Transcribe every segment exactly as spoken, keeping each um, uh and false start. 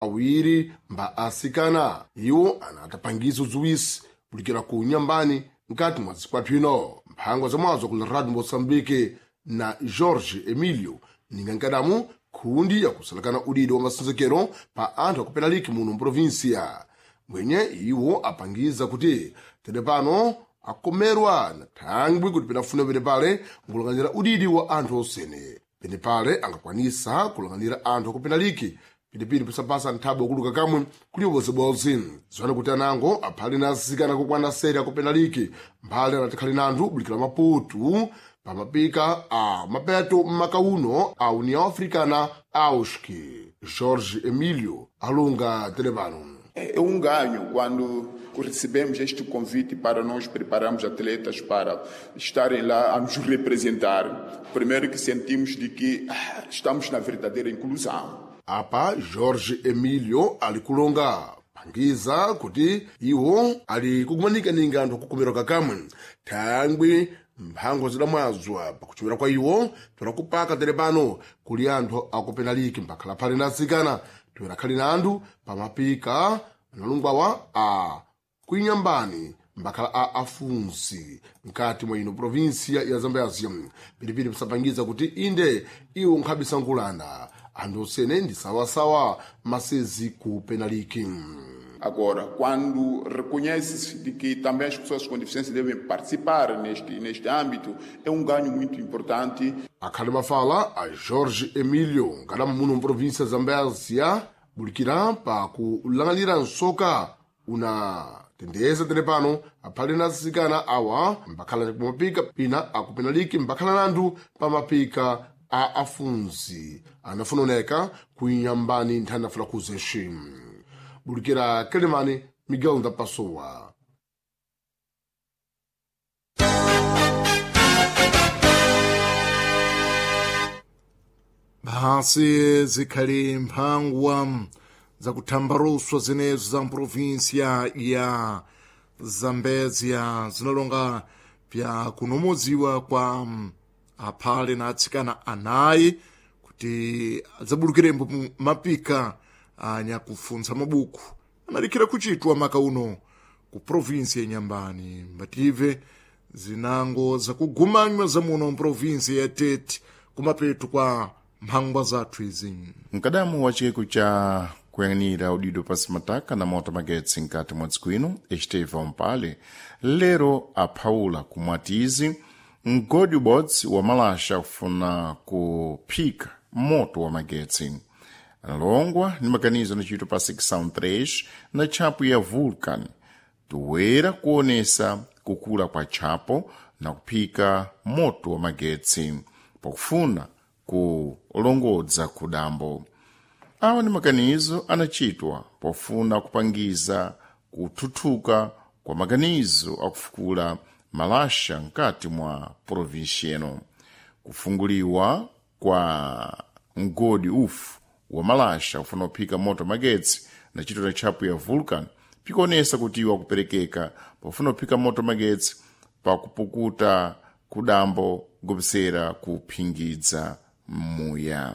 Awiri mba asikana iwo anatapangiza udziwisi kulikira ku nyambani mkati mwa zikwathu ino mphangwa zamwazo ku radio Moçambique na Jorge Emilio ningankadamu khundi yakusalakana udidi wa masenzekero pa anthu akupenaliki muno mprovinsia mwenye iwo apangiza kuti tete pano akomerwa na thangwi kuti penafuna penepale nkulang'anira udidi wa anthu osene penepale angakwanisa kulang'anira anthu akupenaliki pilipili pisapasa nthawi wakuluka kamwe kuli ubozebozi ziwana kuti anango aphale na asikana kukwana seri akupenaliki mphale anatikhale na anthu bulikira maputu pamapika a mapeto m'makauno a União Africana auski Jorge Emílio alunga telepano. É um ganho quando recebemos este convite para nós prepararmos atletas para estarem lá a nos representar. Primeiro que sentimos de que ah, estamos na verdadeira inclusão. Apa Jorge Emílio ali kulonga pangiza kuti iwo ali kukumanika ninga anthu akukomerwa kakamwe thangwi mphango zidamwazwa pakuchimira kwa iwo torakupaka tere pano kuli anthu akupenaliki mbakhala phale na atsikana toyerakhale na anthu pamapika analungwawa a kuinyambani mbakhala a afunsi mkati mwa ino provinsia ya Zambezia pilipili pisapangiza kuti inde iwo nkhabisankulana anthu osene ndi sawasawa masezi ku penaliki. Agora, quando reconhece-se de que também as pessoas com deficiência devem participar neste, neste âmbito, é um ganho muito importante. Akhale mafala a Jorge Emílio nkadamu muno mprovinsia ya Zambezia bulikira pa kulang'anira nsoka una tendeza tere pano aphale na atsikana awa mbakhala pamapika pina akupenaliki mbakhala na anthu pamapika a afunsi anafuna oneka kuinyambani nthani afuna kuzeshi bulikira Kelemani Miguel da Pessoa. Bhasi zikhali mphangwa zakuthambaruswa zinezo za mprovinsia ya Zambezia zinalonga pya kunomodziwa kwa aphale na atsikana anayi kuti adzabulukirembo mapika anyakufuntsa mabuku analikhira kuchitwa maka uno ku provinsi ya Nyambani mbative zinango zakugumanywa zamuno mprovinsi ya Tete kumapeto kwa mphangwa zathu izi. Mkadamu wa chiyeko cha kuyang'anira udido pasi mataka na moto magetsi mkati mwa dziko ino Estevão Mpale lero aphawula kumwatizi mgodi ubodzi wa malasha kufuna kuphika moto wa magetsi analongwa ni maganizo anachitwa pa secção três na tchapo ya Vulcan toera kuonesa kukula kwa tchapo na kuphika moto wa magetsi pakufuna kulongodza kudambo. Awa ni maganizo anachitwa pofuna kupangiza kuthuthuka kwa maganizo akufukula malasha mkati mwa provinsi ino. Kufunguliwa kwa mgodi ufu wa malasha kufuna kuphika moto magetsi na chito na tchapo ya Vulcan pikuonesa kuti iwo akuperekeka pofuna kuphika moto magetsi pakupukuta kudambo ngopsera kuphingidza muya.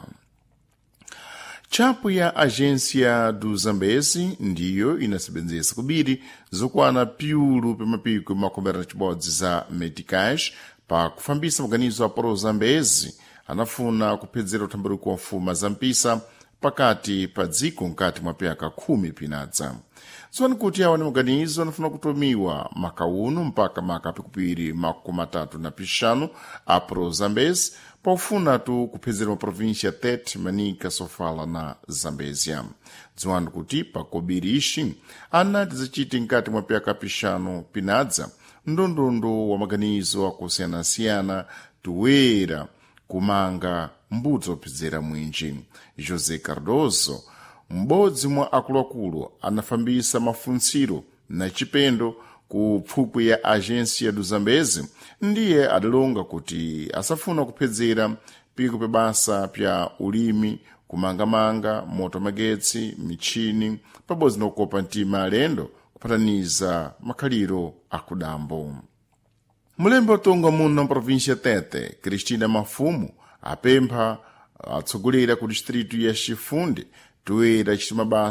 Tchapo ya Agência do Zambezi ndiyo inasebenzesa kubiri zokwana piulu pamapiko makumi na chibodzi za meticais pa kufambisa maganizo a Pro Zambezi anafuna kuphedzera uthambaruko wa mfuma za mpisa pakati pa dziko mkati mwa pyaka khumi pinadza. Tsopano kuti awa ni maganizo anafuna kutumiwa maka uno mpaka maka pikupiri makumi atatu na pixanu a Pro Zambezi pofuna tu kuphedzera maprovinsia ya Tete, Manica, Sofala na Zambezia. Dziwani kuti pakobiri ixi anati zacite mkati mwa pyaka pixanu pinadza ndondondo wa maganizo akusiyanasiyana toera kumanga mbudzi ophedzera mwinji. José Cardoso m'bodzi mwa akuluakulu anafambisa mafuntsiro na chipendo ku pfupwi ya Agência do Zambezi ndiye adalonga kuti asafuna kuphedzera piko pa basa pya ulimi kumangamanga moto magetsi michini pabodzi na kukopa mtima alendo kupataniza makhaliro akudambo. Mulembe watonga muno mprovinsia Tete Cristina Mafumo apempha atsogoleri ku distrito ya Chifunde Toera achita mabasa.